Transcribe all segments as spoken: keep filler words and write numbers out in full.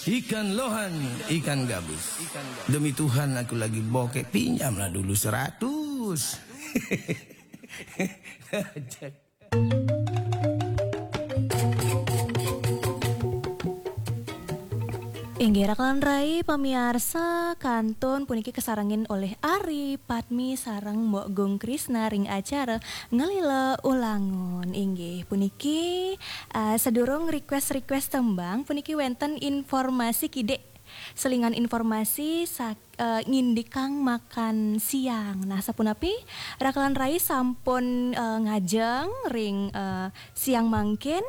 Ikan lohan, ikan gabus. Demi Tuhan, aku lagi bokek, pinjamlah dulu seratus. Inggih, rakan rai pamiarsa, kantun puniki kasarengin olih Ari Padmi sareng Mbok Gung Krisna ring acara Ngelila Ulangun. Inggih, puniki, eh, sedurung request-request tembang, puniki wenten informasi kidik. Selingan informasi sak-, eh, ngindikang makan siang. Nah, sapunapi rakan rai sampun, eh, ngajeng ring, eh, siang mangkin?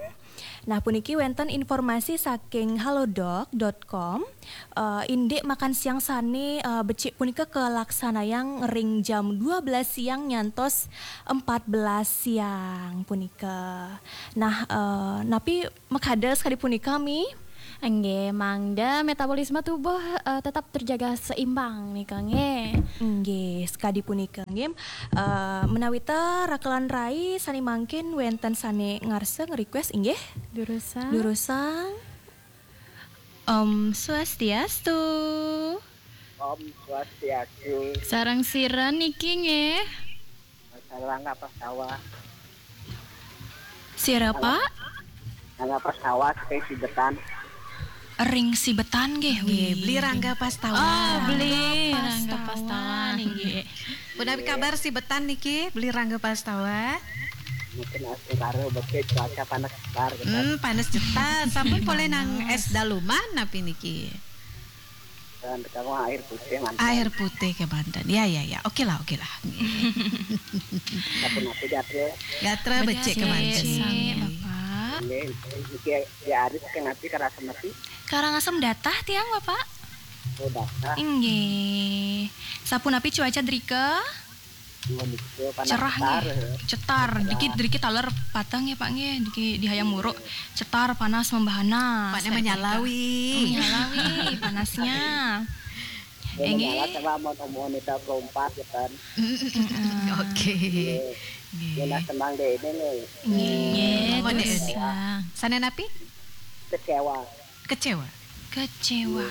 Nah, puniki wenten informasi saking halodoc dot com. Eh, indik makan siang sane, eh, becik punika kalaksanayang ring jam dua belas siang nyantos empat belas siang punika. Nah, eh, napi makada sakadi punika, Mi? Inggih, mangda metabolisme tubuh, eh, tetap terjaga seimbang nika, nggih. Inggih, sakadi punika, nggih. Eh, menawita rakan rai sane mangkin wenten sane ngarsa nge-request, inggih. Durusang. Durusang. Om Swastiastu. Om Swastiastu. Sareng sira niki, nggih. Sareng Rangga Pastawa. Sira, Pak? Rangga Pastawa saking Sibetan. Ring Sibetan nggih. Nggih, Beli Rangga Pastawa. Oh, Beli Rangga Pastawa Pastawa. Nggih. Punapi kabar Sibetan niki, Beli Rangga Pastawa? Mungkin astungkara becik, cuaca panas jetar gitu. Hmm, panas jetar. Sampun polih nang es daluman napi niki? Dan kamu air putih mantap. Air putih kemanten. Ya, ya, ya. Oke lah, oke lah. Sapunapi gatra. Gatra becik Becik, kemanten. Bapak. Ini, ini dia, dia Aris saking napi, Karangasem napi? Karangasem datah tiang, Bapak? Oh, datah. Inggih. Sapunapi cuaca drika? Dua minggu panas Cerah jetar. Nggih. Cetar. Driki, driki taler pateng ya, Pak, nggih. Driki di Hayam Wuruk. Cetar, panas, membahana. Pakne menyalawi. Menyalawi panasnya. Ini Inggih. Malah sama mau mau nita keempat ya kan. Oke. Ini nah, senang deh ini nih. Nggih. Apa nih? Durusang. Sane napi? Kecewa. Kecewa. Kecewa.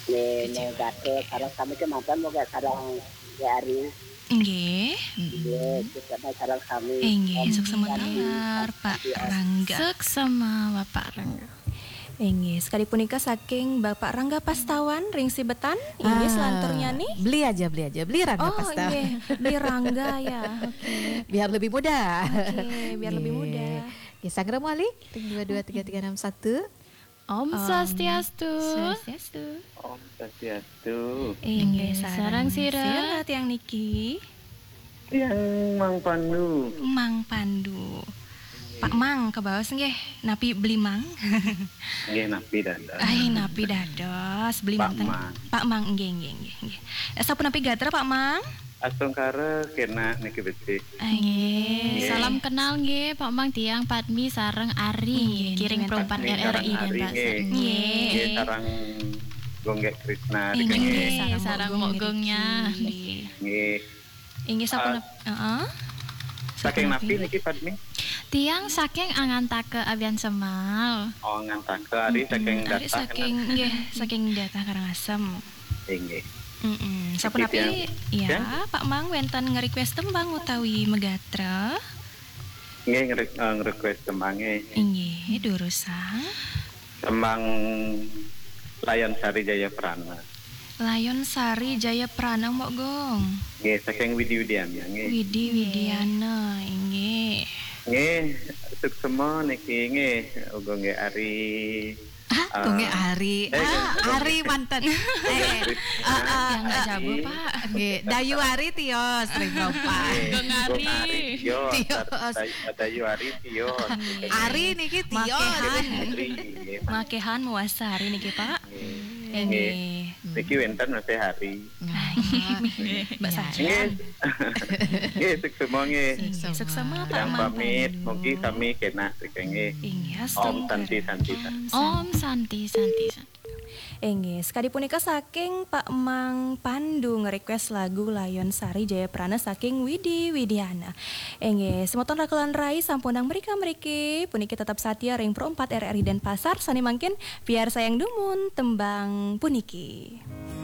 Ini mau gatra, sareng sami kemanten, mau gak sareng ya Ari. Inggih. Iya, kita sareng sami. Inggih, suksema taler, Pak Rangga. Suksema, Bapak Rangga. Inggih, sakadi punika saking Bapak Rangga Pastawan ring Sibetan. Inggih, Ah, selanturnya nih. Beli aja, beli aja, beli Rangga Oh, Pastawan. Inggih, beli Rangga ya. Oke. Biar lebih mudah. Oke, biar lebih mudah. Oke, sanggra malih ring dua dua tiga tiga enam satu. Om Swastiastu. Swastiastu. Om Swastiastu. Inggih, Sareng sira. Sira tiang niki. Tiang Mang Pandu. Mang Pandu. Pak Mang, kebaos nggih. Napi beli Mang? Nggih, napi dados. Ai, napi dados beli Pak manten. Mang. Pak Mang, nggih, nggih, nggih, nggih. Eh, sapunapi gatra, Pak Mang? Astungkara kena niki becik. Ai, nggih. Salam kenal nggih, Pak Mang, tiang Padmi sareng Ari. Nggih, Kiring nggih. perumpan Padmi R R I sareng Ari, Denpasar. nggih. Nggih. Nggih, sareng Gung Gek Krisna. Inggih, Nggih. Sareng Sareng Mbok Gung Gongnya. Niki. Nggih. Inggih, sapunapi, heeh. Saking napi niki, Padmi? Tiang saking Angantaka Abiansemal. Oh, Angantaka, Ari saking Ari datah. Saking, nggih, saking datah Karangasem. Inggih. Mm-mm. Niki Sapunapi, tiang, ya, tiang? Pak Mang wenten nge-request tembang utawi megatra? Nggih, nge-, eh, nge-request tembang nggih. Inggih, durusang. Tembang Layon Sari Jaya Prana. Layon Sari Jaya Prana, Mbok Gung. Nggih, saking Widi Widiana nggih. Widi Widiana, inggih. Nggih, suksema niki nggih, uga nggih Ari. Ah, kok nggih Ari. Eh, ah, Ari manten. Eh, ah, ah, yang nggak jago, Pak. Nggih, Dayu Ari tios, ring Propan. Nggih, Gung Ari tios. Tios. Dayu, Dayu Ari tios. Ari niki tios. Makehan. Ari, nggih. Makehan mawasta hari niki, Pak. Nggih. Nggih. Niki wenten masih hari. Mbak Sajian. Nggih. Nggih, suksema nggih. Nggih, suksema, Pak Mang. Pamit, mugi sami kenak nggih. Inggih, Om Santi, Santi, Santi. Om Santi, Santi, Santi. Inggih, sakadi punika saking Pak Mang Pandu nge-request lagu Layon Sari Jayaprana saking Widi Widiana. Inggih, semeton rakelan rai sampunang mrika-mriki, puniki tetep satia ring Pro empat R R I Denpasar, sane mangkin piarsayang dumun tembang puniki.